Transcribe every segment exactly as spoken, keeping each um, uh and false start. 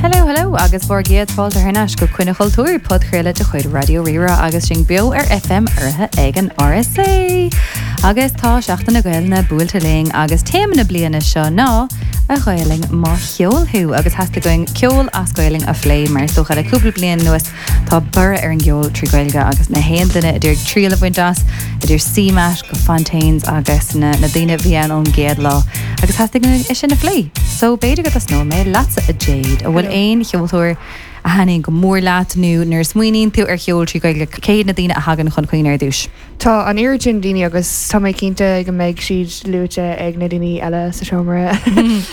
Hello, hello agus bhur gcéad fáilte thar n-ais go Coinne Chultúir podchraoladh de chuid Raidió Rí-Rá agus sinn beo ar F M urraithe ag an R S A. Agus tá Seachtain na Gaelainne buailte linn agus téama na bliana seo ná "A Ghaelainn mo cheol thú" agus theastaigh uainn ceol as Gaelainn a phlé mar is dócha le cúpla bliain anuas tá borradh ar an gceol trí Ghaeilge agus na haon duine a d'iarraidh triail a bhaint as, idir C Mat go Fontaines agus na, na daoine bhí ann ón gcéad lá agus theastaigh uainn é sin a phlé. So b'fhéidir go dtosnóidh mé leatsa, a Jade, an bhfuil aon cheoltóir a thaitníonn go mór leat nó nuair a smaoiníonn tú ar cheol trí Ghaeilge, cé na daoine a thagann chun cuimhne ar dtús? Tá an oiread sin daoine agus tá mé cinnte go mbeidh siad luaite ag na daoine eile sa seomra.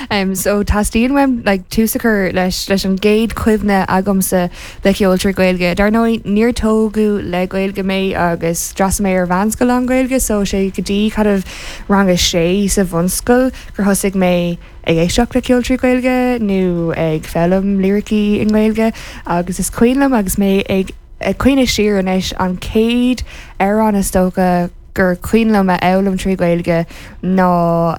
um, so teastaíonn uaim like, tús a chur leis leis an gcéad chuimhne agamsa le ceol trí Ghaeilge. Dar ndóigh níor tógadh le Gaeilge mé agus d'fhreastail mé ar mheánscoil an Ghaeilge, so sé go dtí kind of rang a sé sa bhunscoil gur thosaigh mé ag éisteacht le ceol trí Ghaeilge nó ag foghlaim liricí i nGaeilge agus is cuimhin liom agus mé ag ag cuimhneamh siar anois an chéad amhrán is dócha gur cuimhin liom a fhoghlaim trí Ghaeilge ná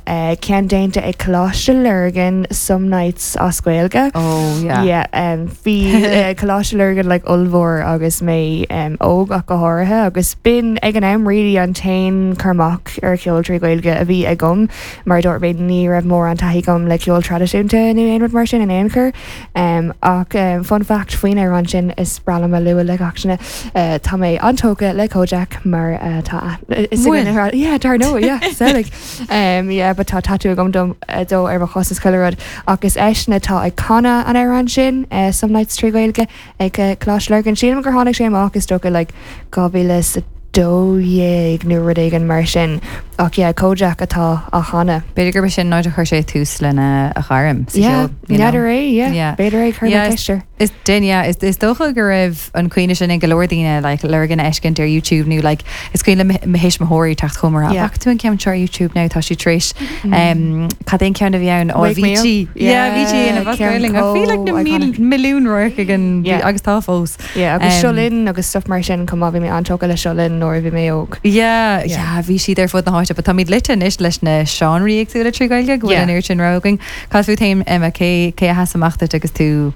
uh, ceann déanta ag Coláiste Lurgan, "Some Nights" as Gaeilge. Oh yeah. Yeah, um, bhí uh, Coláiste Lurgan like ollmhór agus mé um, óg ach go háirithe agus b'in ag an am really an t-aon chur amach ar cheol trí Ghaeilge a bhí agam mar dúirt mé ní raibh mórán taithí agam le ceol traidisiúnta nó aon rud mar sin in aon chor. Um, ach um, fun fact faoin amhrán sin is breá liom a lua le gach duine uh, tá mé an-tógtha le Kojaque mar uh, tá is Bhfuil? yeah, dar ndóigh, yeah, like um, yeah, but tá tatú agam dom uh, dó ar mo chos is chuile rud agus eisean atá ag canadh an amhrán sin uh, "Some Nights" trí Ghaeilge ag uh, Coláiste Lurgan. Sílim gur tháinig sé amach is dócha like dhá mhíle is a dó dhéag nó rud éigin mar sin ach yeah, Kojaque atá á chanadh. B'fhéidir gurb sin an áit a chuir sé tús lena a ghairm sa Yeah, cheol, you know. n'fheadar é, yeah. Yeah. B'fhéidir é chuir Yeah, ceiste. Is din yeah, is, is dócha go raibh an cuimhne sin ag go leor daoine like, Lurgan a fheiscint ar YouTube nó like, is cuimhin le mo thuismitheoirí teacht chugam Yeah. yeah. tú an ceann seo ar YouTube now tá sí tar éis um, cad é an ceann a bhí ann ó Wake Me Up. Avicii. Yeah, Avicii ina ceann Bhí like na chomh mil- iconic. milliún radharc ag an Yeah. agus tá fós. Yeah, agus Um, Seo Linn agus stuff mar sin chomh maith bhí mé an-tógtha le Seo Linn nuair a bhí mé óg. Yeah, Yeah. yeah, bhí siad ar fud na háite, but táimid loite anois leis na seánraí éagsúla trí Ghaeilge go bhfuil Yeah. an oiread sin rogha againn. Cad fút féin, Emma, cé cé a sheas amach duit agus tú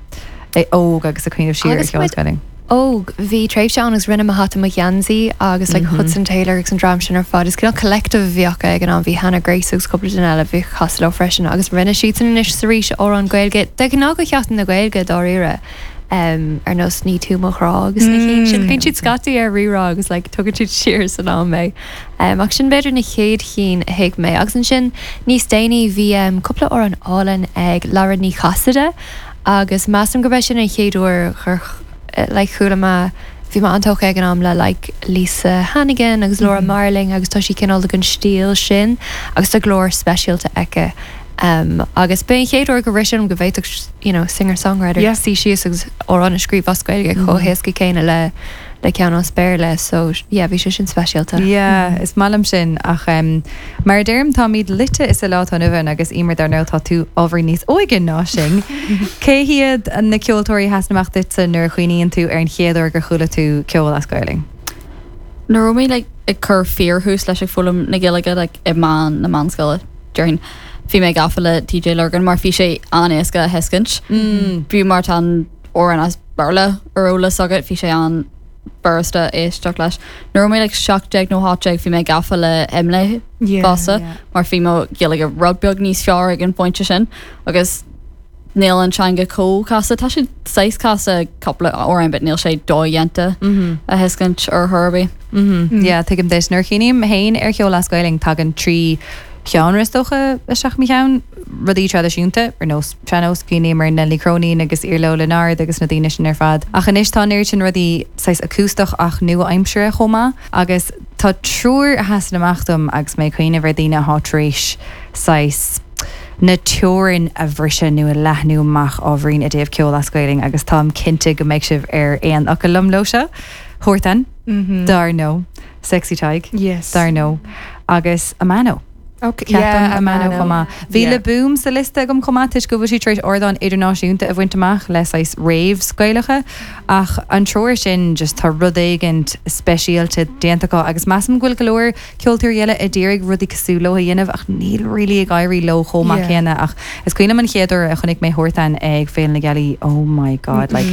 é óg agus ag cuimhneamh siar ar Agus cheol muid- Gaeilge? Óg bhí tréimhse ann agus rinne mo hata mo gheansaí agus like, Hudson Taylor agus an dream sin ar fad. Is cineál collective a bhí acu ag an am bhí Hannah Grace agus cúpla duine eile bhí cosúil leo freisin agus rinne siad san anois sa rís amhrán Gaeilge de ghnáth go Sheachtain na Gaeilge dáiríre. Um, ar nós "Ní tú mo ghrá" agus na cinn sin bíonn siad scaití ar Rí-Rá agus like, tugann siad siar san am mé. Um, ach sin b'fhéidir na chéad chinn a thuig mé agus ansin níos déanaí bhí um, cúpla amhrán álainn ag Lara Ní Chasaide agus measaim go b'é sin an chéad uair chur like, chuala mé bhí mé an-tógtha ag an am le like, Lisa Hannigan agus Laura mm -hmm. Marling agus tá sí cineál den stíl sin agus tá glór speisialta aici. Um, agus b'é an chéad uair go raibh go bhféadfadh you know, singer-songwriter Yeah. suí síos agus amhrán a scríobh as Gaeilge chomh héasca céanna le le ceann as Béarla, so yeah, bhí sé sin speisialta. Yeah, is maith liom sin ach um, mar a deirim táimid loite is a lá an agus Emer dar ndóigh tá tú ábhar níos óige ná sin. Cé hiad na ceoltóirí a sheas amach duitse nuair a chuimhníonn tú ar an chéad uair gur chuala tú ceol as Gaeilge? Nuair mé like, ag cur fíorthús leis ag foghlaim na Gaeilge like, i meán na meánscoile déarfainn bhí mé gafa le T J Lurgan mar bhí sé an-éasca a thuiscint. Mm. Bhí mar tá amhrán as Béarla ar eolas agat bhí sé an-fhurasta éisteacht leis. Nuair mé like, seacht déag nó ocht déag bhí mé gafa le Imlé Yeah, fosta yeah. mar bhí mo Ghaeilge rud beag níos fearr ag an bpointe sin agus níl an teanga chomh casta. Tá sé saghas casta cúpla amhrán, but níl sé dodhéanta Mm-hmm. a thuiscint ar Herbie. Mm. Yeah, tuigim duit nuair a chuimhním féin ar cheol as Gaeilge tagann trí cheann is dócha isteach i mo cheann rudaí traidisiúnta ar nós sean-nós cuimhním ar Nellie Cronin agus Iarla Ó Lionáird agus na daoine sin ar fad. Ach anois tá an sin rudaí saghas acústach ach nua-aimseartha chomh maith agus tá triúr a sheasann amach dom agus mé cuimhneamh ar daoine atá tar éis saghas na teorainn a bhriseadh nó a leathnú amach ábhairín i dtaobh ceol as Gaeilge agus táim cinnte go mbeidh sibh ar aon fhocal liom leo seo. Huartan, Mm-hmm. dar ndóigh, Sexy Tadhg, Yes. dar ndóigh, agus Amano. Okay, Ceapaim Amano chomh maith. Bhí Le Boom sa liosta agam chomh maith toisc go bhfuil sí tar éis ardán idirnáisiúnta a bhaint amach le saghas raves Gaelacha ach an triúr sin just tá rud éigin speisialta déanta acu agus measaim go bhfuil go leor ceoltóirí eile a d'iarraidh rudaí cosúil leo a dhéanamh ach níl really ag éirí leo chomh maith Yeah. céanna ach is cuimhin liom an chéad uair a chonaic mé Huartan ag Féile na Gealaí oh my god like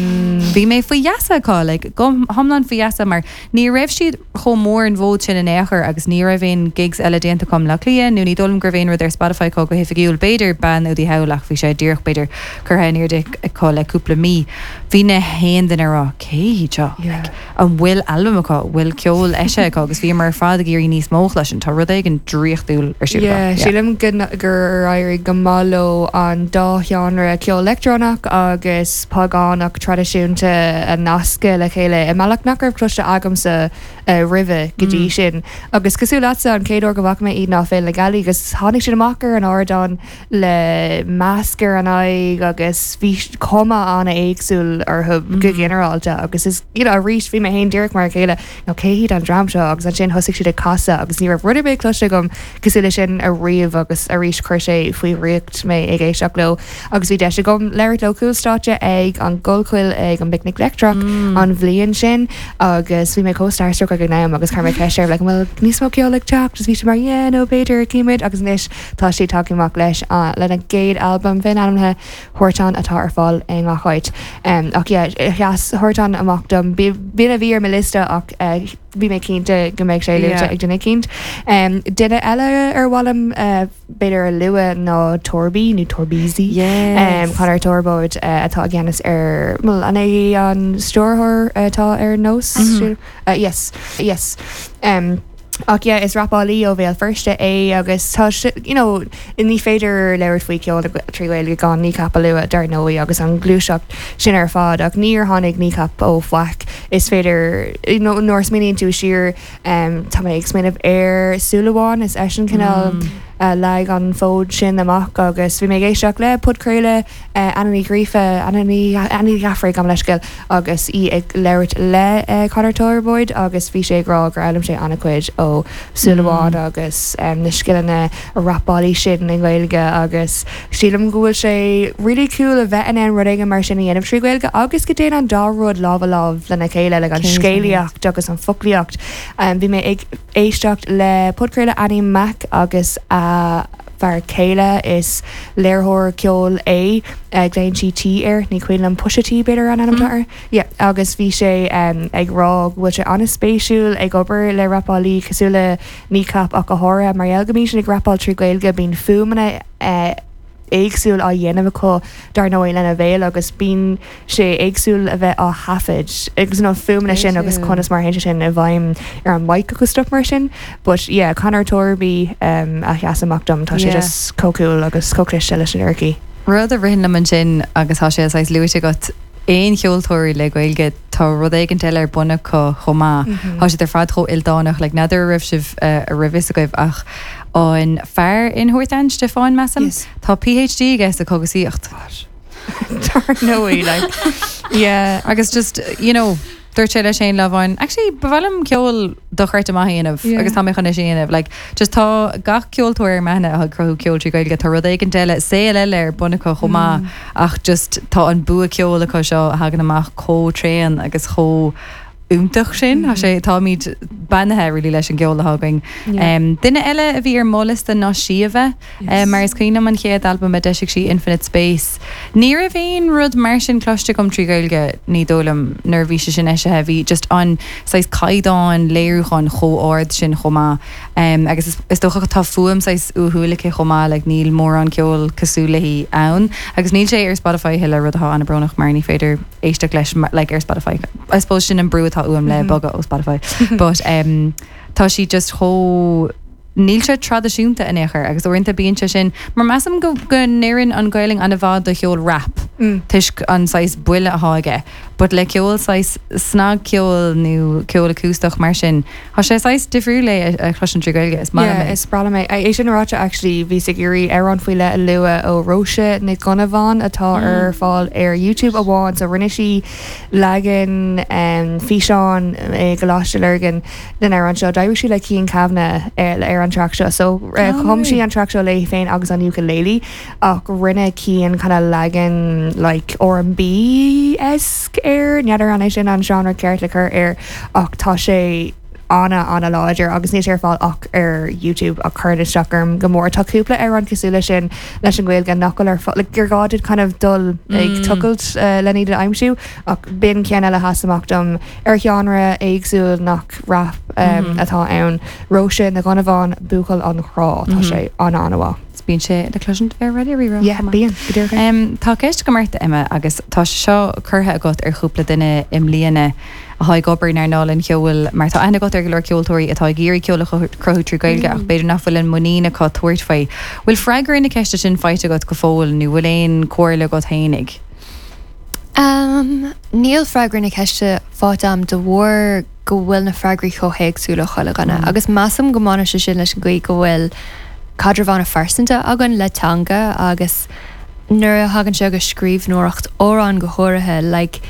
bhí mé faoi gheasa acu like go hiomlán faoi gheasa mar ní raibh siad chomh mór an bhód sin in aon chor agus ní raibh aon gigs eile déanta acu le Cliath nó ní dóigh liom go raibh aon rud ar Spotify acu go hoifigiúil b'fhéidir bean údaí thall ach bhí sé díreach b'fhéidir curtha in airde acu le cúpla mí. Bhí na haon duine rá cé seo Yeah. like, an bhfuil albam acu bhfuil ceol eisithe acu agus bhí mar fad ag iarraidh níos mó leis an tá rud éigin draíochtúil ar siúl Yeah, acu. sílim go- gur éirigh go maith leo an dá sheánra ceol leictreonach agus pagánach traidisiúnta a nascadh le chéile i mbealach nach raibh cloiste agamsa uh, roimhe go dtí sin. Agus cosúil leatsa an chéad uair go bhfaca mé iad ná Féile na Gealaí agus tháinig siad amach ar an ardán le masc ar an aghaidh agus bhí cuma an-éagsúil orthu go ginearálta agus is you know, arís bhí mé féin díreach mar a chéile nó cé hiad an dream seo agus ansin thosaigh siad ag casadh agus ní raibh rud ar bith cloiste agam cosúil leis sin ariamh agus arís chuir sé faoi dhraíocht mé ag éisteacht leo agus bhí deis agam labhairt leo cúlstáitse ag an gCollchoill ag an bPicnic Leictreach an bhliain sin agus bhí mé chomh starstruck ag an am agus chuir mé ceist air like bhfuil níos mó ceol ag teacht agus bhí sé mar yeah nó b'fhéidir címid agus anois tá sé tagtha amach leis uh, lena gcéad albam féin-ainmnithe Huartan atá ar fáil i ngach áit. Um, ach yeah, sheas Huartan amach dom b'in a bhí ar mo liosta ach uh, bhí mé cinnte go mbeidh sé luaite Yeah. ag duine eicínt. Um, duine eile ar mhaith liom uh, b'fhéidir a lua ná Torby nó Torbeezy. Yes. Um, Conor Torbóid uh, atá i gceannas ar well, an é an stiúrthóir atá ar nós mm -hmm. uh, yes yes um, Ach yeah, is rapálaí ó Bhéal Feirste é agus tá sé- you know, ní féidir labhairt faoi ceol trí Ghaeilge gan Kneecap a lua dar ndóigh agus an ghluaiseacht sin ar fad ach níor tháinig Kneecap ó fhaic is féidir you know, nuair a smaoiníonn tú siar um, tá mé ag smaoineamh ar Súil Amháin is eisean cineál mm. uh, leag an fód sin amach agus bhí mé ag éisteacht le podchraoladh uh, Anna Ní Ghríofa Anna Ní Ghafraigh gabh mo leithscéal agus í ag labhairt le uh, Conor Torbóid agus bhí sé ag rá gur fhoghlaim sé an-chuid ó Súil Amháin agus um, na scileanna rapála sin i nGaeilge agus sílim go bhfuil sé really cool a bheith in ann rud éigin mar sin a dhéanamh trí Ghaeilge agus go dtéann an dá rud lámh i lámh lena chéile le an Céad. scéalaíocht agus an foclaíocht. Um, bhí mé ag éisteacht le podchraoladh Annie Mac agus a fear céile is léiritheoir ceoil é uh, glaonn sí T air ní cuimhin liom Pusha T b'fhéidir an ainm air. Yeah, agus bhí sé um, ag rá go bhfuil sé an-spéisiúil ag obair le rapálaí cosúil le Kneecap ach go háirithe mar gheall go mbíonn siad ag rapáil trí Ghaeilge bíonn fuaimeanna uh, éagsúil á dhéanamh acu dar ndóigh lena bhéal agus bíonn sé éagsúil a bheith á thaifead agus na fuaimeanna sin agus Spéisiúil. conas mar a théann sé sin i bhfeidhm ar an mic agus stuff mar sin but yeah Conor Torby um, a sheas amach dom tá sé Yeah. just chomh cool agus chomh cliste leis an liricí. Rud a ritheann liom ansin agus tá sé saghas luaite agat aon cheoltóirí le Gaeilge tá rud éigin eile ar bun acu chomh maith. Tá siad ar fad chomh ildánach le n'fheadar raibh sibh uh, a raibh fhios agaibh ach an fear in Huartan Stiofán measaim Yes. Tá PhD aige sa chogasaíocht. Dar ndóigh like yeah Agus just you know dúirt sé leis féin lá amháin actually ba mhaith liom ceol dochreidte maith a dhéanamh Yeah. agus tá mé chun é sin a dhéanamh like just tá gach ceoltóir meána a cruthú ceol trí Ghaeilge tá rud éigin eile saol eile ar bun acu chomh maith ach just tá an bua ceoil acu seo a thagann amach chomh tréan agus chomh iontach sin Tá sé táimid beannaithe really leis an gceol atá againn. Yeah. Um, duine eile a bhí ar mo liosta ná Síomha yes. mar is cuimhin liom an chéad albam a d'eisigh sí Infinite Space. Ní raibh aon rud mar sin cloiste agam trí Ghaeilge ní dóigh liom nuair a bhí sé sin eisithe bhí just an saghas caighdeán léiriúcháin chomh hard sin chomh maith. Um, agus is, is dócha tá fuaim saghas uathúil aici chomh maith like, níl mórán ceol cosúil léi ann agus níl sé ar Spotify thuilleadh rud atá an-bhrónach mar ní féidir éisteacht leis mar- like, ar Spotify. I suppose sin an brú atá uaim le bogadh ó Spotify. But um, tá sí just chomh níl sé traidisiúnta in aon chor agus uaireanta bíonn sé sin mar measaim go go n-oireann an Ghaeilge an-mhaith do cheol rap. Mm. Toisc an saghas buille atá aige, but le ceol saghas snagcheol nó ceol acústach mar sin, Tá sé saghas difriúil é a chloisint trí Ghaeilge is maith Yeah, é. is breá liom é. É sin ráite actually bhí ag iarraidh amhrán faoi leith a lua ó Róise Nic Dhonnabháin atá Mm. ar fáil ar YouTube amháin so rinne sí leagan um, físeán i gColáiste Lurgan den amhrán seo D'éirigh sí le Cian Kavanagh ar ar an track seo so uh, Oh, chum sí right. an track seo léi féin agus an ukulele ach rinne Cian kind of leagan like R&B-esque air n'fheadar an é sin an genre ceart le cur air ach tá sé ana ana láidir agus níl sé ar fáil ach ar YouTube ach chuir isteach orm go mór tá cúpla amhrán cosúil leis sin leis an Ghaeilge nach bhfuil ar fáil like, gur gá duit kind of dul ag Mm. tochailt uh, lena iad a aimsiú ach b'in ceann eile a sheas amach dom ar genre éagsúil nach rap um, Mhm. atá ann Róise Nic Dhonnabháin Buachaill an Chrá tá Mhm. sé ana ana Bíonn sé le cloisint ar Radio Rí-Rá Yeah, bíonn go díreach. Um, tá ceist agam ort Emma agus tá sé seo curtha agat ar chúpla duine i mbliana atá ag obair in earnáil an cheoil mar tá aithne agat ar go leor ceoltóirí atá ag iarraidh ceol a chruthú trí Ghaeilge ach b'fhéidir nach bhfuil an muinín acu tabhairt faoi. Bhfuil freagra na ceiste sin faighte agat go fóill nó bhfuil aon chomhairle agat fhéinig. Um, níl freagra na ceiste faighte agam de bharr go bhfuil na freagraí chomh héagsúil ó chuile dhuine. Mm. agus measaim go mbaineann sé sin leis an gcaoi go bhfuil caidreamh an-phearsanta againn le teanga agus nuair a thagann sé go scríbhneoireacht amhrán go háirithe like,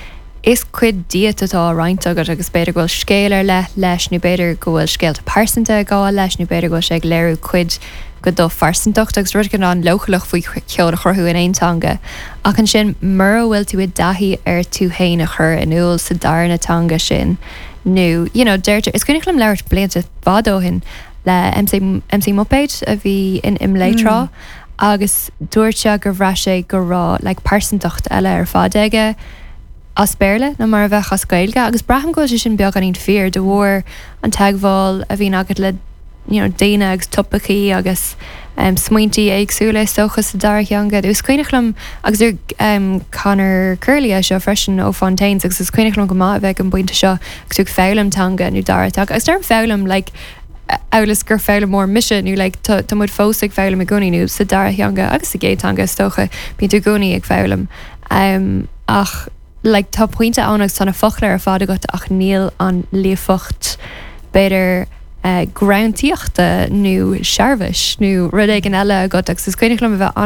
is cuid díot atá roinnte agat agus b'fhéidir go bhfuil scéal ar leith leis nó b'fhéidir go bhfuil scéalta pearsanta ag gabháil leis nó b'fhéidir go bhfuil sé ag léiriú cuid de do phearsantacht agus rud an leochaileach faoi cheol a chruthú in aon teanga. Ach ansin mura bhfuil tú i dtaithí ar tú féin a chur in iúl sa darna teanga sin nó you know, deirtear is cuimhin liom labhairt blianta fada ó shin le MC, MC Muppet a bhí in IMLÉ tráth agus dúirt sé gur bhraith sé go raibh like, pearsantacht eile ar fad aige as Béarla ná mar a bheadh as Gaeilge agus braithim go bhfuil sé sin beagáinín fíor de bharr an teagmháil a bhíonn agat le you know, daoine agus topaicí agus um, smaointe éagsúla is dócha sa dara theanga. Is cuimhin liom agus ar um, Conor Curley é seo freisin ó Fontaines agus is cuimhin liom go maith a bheith an bpointe seo agus tú ag foghlaim teanga nó dara teanga. Agus deirim foghlaim like, amhail is gur foghlaimeoir mise nó like, tá tá muid fós ag foghlaim i gcónaí nó sa dara theanga agus sa gcéad teanga is dócha bíonn tú i gcónaí ag foghlaim. Um, ach like, tá pointe ann agus tá na focla ar fad agat ach níl an líofacht b'fhéidir uh, greanntaíochta nó searbhais nó rud éigin eile agat agus is cuimhin liom a bheith